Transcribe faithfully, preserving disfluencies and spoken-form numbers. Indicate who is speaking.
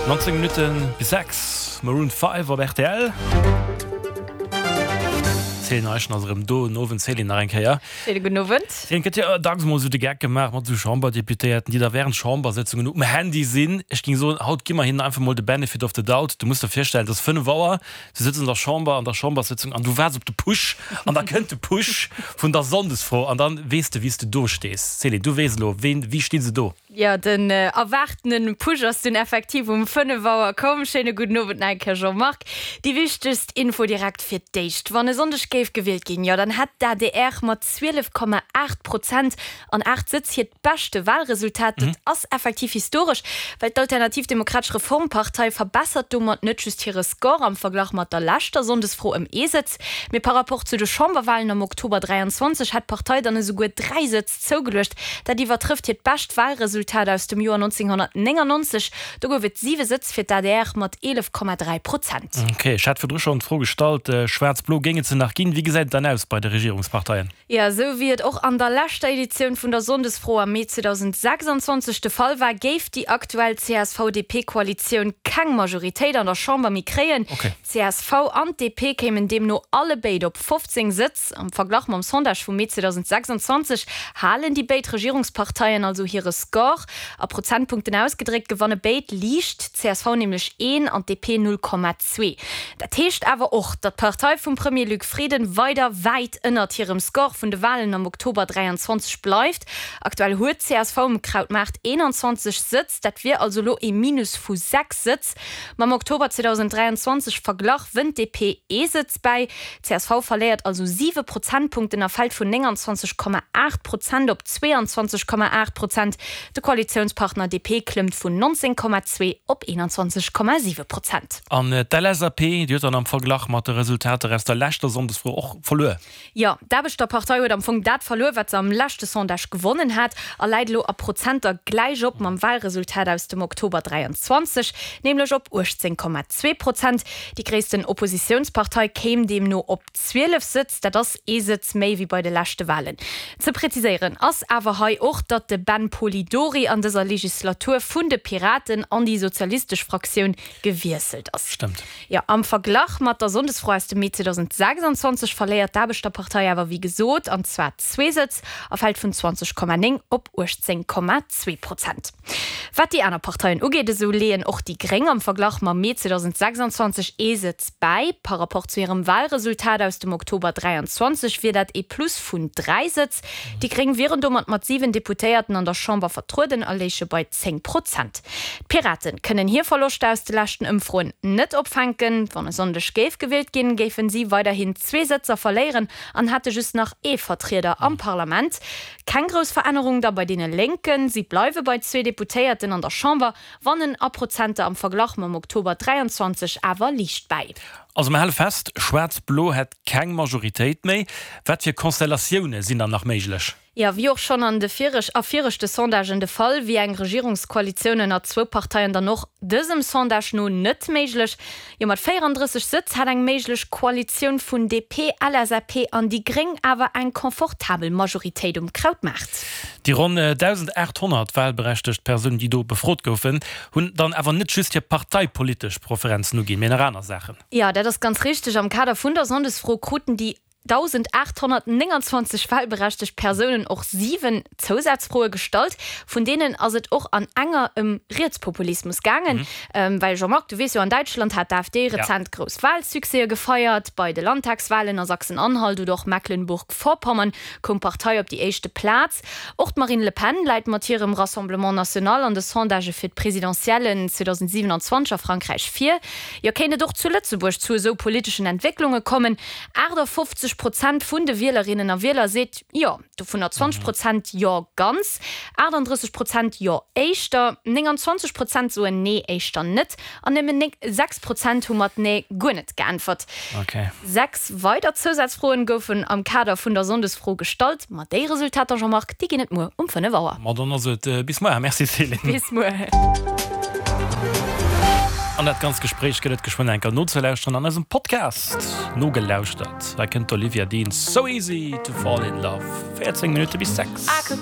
Speaker 1: Nonzéng Minutte bis sechs, Maroon Five op rtl. D'Céline Eischen ass erëm do. Den Owend, Céline, nach eng Kéier.
Speaker 2: Schéine gudden Owend.
Speaker 1: Céline, et gëtt jo dacks mol esou de Geck gemaach mat esou Chamberdeputéierten, déi da wärend Chambersëtzungen um Handy sinn. Ech géing soen, haut gi mer hinnen einfach mol de Benefit of the doubt. Du muss der virstellen, et ass fënnef Auer, du sëtz an der Chamber, an der Chamberssëtzung an du waarts op de Push an da kënnt de Push vun der Sonndesfro an dann weess de, wéi s de do stees. Céline, du weess elo, ween, wéi sti se do?
Speaker 2: Jo, den erwaartene Push ass dunn effektiv um fënnef Auer komm. Schéine gudden Owend nach eng Kéier, Jean-Marc. Déi wichtegst Info direkt fir d'éischt, Wann e Sonndeg géif gewielt ginn, jo dann hätt d'ADR mat zwielef Komma aacht Prozent an aacht Sëtz hiert beschte Walresultat. Dat ass effektiv historesch, well d'Alternativ Demokratesch Reformpartei verbessert domat net just hire Score am Verglach mat der leschter Sonndesfro ëm ee Sëtz, mee par rapport zu de Chamberwalen am Oktober dräianzwanzeg hätt d'Partei dann esouguer dräi Sëtz zougeluecht. Dat iwwertrëfft hiert bescht Walresultat aus dem Joer nonzénghonnertnéngannonzeg. Do gouf et siwe Sëtz fir d'ADR mat eelef Komma dräi Prozent.
Speaker 1: Ok, ech hat virdru schonn d'Fro gestallt, Schwaarz-Blo, géing et se nach ginn? Wéi gesäit et dann aus bei de Regierungsparteien?
Speaker 2: Jo, esou wéi et och an der leschter Editioun vun der Sonndesfro am Mee zweedausendsechsanzwanzeg de Fall war, géif déi aktuell C S V-D P-Koalitioun keng Majoritéit an der Chamber méi kréien. D C S V an d'D P kéimen deemno allebéid op fofzéng Sëtz. Am Verglach mam Sondage vum Mee zweedausendsechsanzwanzeg halen déi béid Regierungsparteien also hire Score. A Prozentpunkten ausgedréckt gewanne béid liicht, d'C S V nämlech een an d'D P null Komma zwee. Dat heescht awer och, datt d'Partei vum Premier Luc Frieden weider wäit ënnert hirem Score vun de Walen am Oktober dräianzwanzeg bleift. Aktuell huet d'C S V um Krautmaart eenanzwanzeg Sëtz, dat wier also elo ee Minus vu sechs Sëtz. Mam Oktober zweedausenddräianzwanzeg Verglach wënnt d'D P ee Sëtz bäi. D C S V verléiert also siwe Prozentpunkten a fält vun nénganzwanzeg Komma aacht Prozent op zweeanzwanzeg Komma aacht Prozent. De Koalitiounspartner D P klëmmt vun nonzéng Komma zwee op eenanzwanzeg Komma siwe Prozent.
Speaker 1: An d'L S A P, déi huet dann am Verglach mat de Resultater aus der leschter Sonndesfro och verluer?
Speaker 2: Jo, d'Aarbechterpartei huet am Fong dat verluer, wat se am leschte Sondage gewonnen hat a läit elo a Prozenter gläich op mam Walresultat aus dem Oktober dräianzwanzeg, nämlech op uechtzéng Komma zwee Prozent. Déi gréissten Oppositiounspartei kéim deemno op zwielef Sëtz, dat ass ee Sëtz méi wéi bei de leschte Walen. Ze präziséieren ass awer hei och, datt de Ben Polidori an dëser Legislatur vun de Piraten an déi sozialistesch Fraktioun gewiesselt ass.
Speaker 1: Stëmmt.
Speaker 2: Jo, am Verglach mat der Sonndesfro aus dem Mee zweedausendsechsanzwanzeg verléiert d'Aarbechterpartei awer wéi gesot, an zwar zwee Sëtz, a fält vun zwanzeg Komma néng op uechtzéng Komma zwee Prozent. Wat déi aner Parteien ugeet, esou leeën och déi Gréng am Verglach mam Mee zweedausendsechsanzwanzeg ee Sëtz bäi. Par rapport zu hirem Walresultat aus dem Oktober dräianzwanzeg wier dat ee Plus vun dräi Sëtz. Déi Gréng wieren domat mat siwen Deputéierten an der Chamber vertrueden a léiche bei zéng Prozent. D'Piraten kënnen hir Verloschter aus de leschten Ëmfroen net opfänken. Wann e Sonndeg géif gewielt ginn, géifen si weiderhin zwee Sëtzer verléieren an hätte just nach ee Vertrieder am Parlament. Keng grouss Verännerung da bei deene Lénken, si bleiwe bei zwee Deputéierten an der Chamber, wannen a Prozenter am Verglach mam Oktober dräianzwanzeg awer liicht bäi.
Speaker 1: Also mer hale fest, Schwaarz-Blo hätt keng Majoritéit méi. Wat fir Konstellatioune sinn dann nach méiglech?
Speaker 2: Jo, wéi och schonn an de vireg a viregte Sondagen de Fall, wier eng Regierungskoalitioun ënner zwou Parteien dann och dësem Sondage no net méiglech. Jo, mat véierandrësseg Sëtz hätt eng méiglech Koalitioun vun D P, L S A P an déi Gréng awer eng confortabel Majoritéit um Krautmaart.
Speaker 1: Déi ronn dausendaathonnert walberechtegt Persounen, déi do befrot goufen, hunn dann awer net just hir parteipolitesch Preferenzen uginn, mee nach aner Saachen.
Speaker 2: Jo, dat ass ganz richteg. Am Kader vun der Sonndesfro kruten déi dausendaathonnertnénganzwanzeg walberechtegt Persounen och siwen Zousazfroe gestallt. Vun deenen ass et och an enger ëm Rietspopulismus gaangen. Well Jean-Marc, du weess jo, an Däitschland hat d'AfD rezent grouss Walsuccèse gefeiert. Bei de Landtagswalen a Sachsen-Anhalt oder och Mecklenburg-Vorpommern koum d'Partei op déi éischte Plaz. Och d'Marine Le Pen läit mat hirem Rassemblement National an de Sondagë fir d'Presidentiellen zweedausendsiewenanzwanzeg a Frankräich vir. Jo, kéint et och zu Lëtzebuerg zu esou politeschen Entwécklunge kommen? Aachtafoffzeg Prozent vun de Wielerinnen a Wieler seet jo, dovunner zwanzeg Prozent jo ganz, aachtanddrësseg Prozent jo éischter, nénganzwanzeg Prozent soen nee éischter net an nëmmen sechs Prozent hu mat nee guer net geäntwert. Sechs weider Zousazfroen goufen am Kader vun der Sonndesfro gestallt. Ma déi Resultater, Jean-Marc, déi ginn et muer um fënnef Auer.
Speaker 1: Ma dann ass et bis muer. Merci Céline.
Speaker 2: Bis muer.
Speaker 1: An dat ganzt Gespréich gëtt et geschwënn enker nozelauschteren an eisem Podcast. Nogelauschtert, hei kënnt d'Olivia Dean, So Easy to Fall in Love, véierzéng Minutte bis sechs.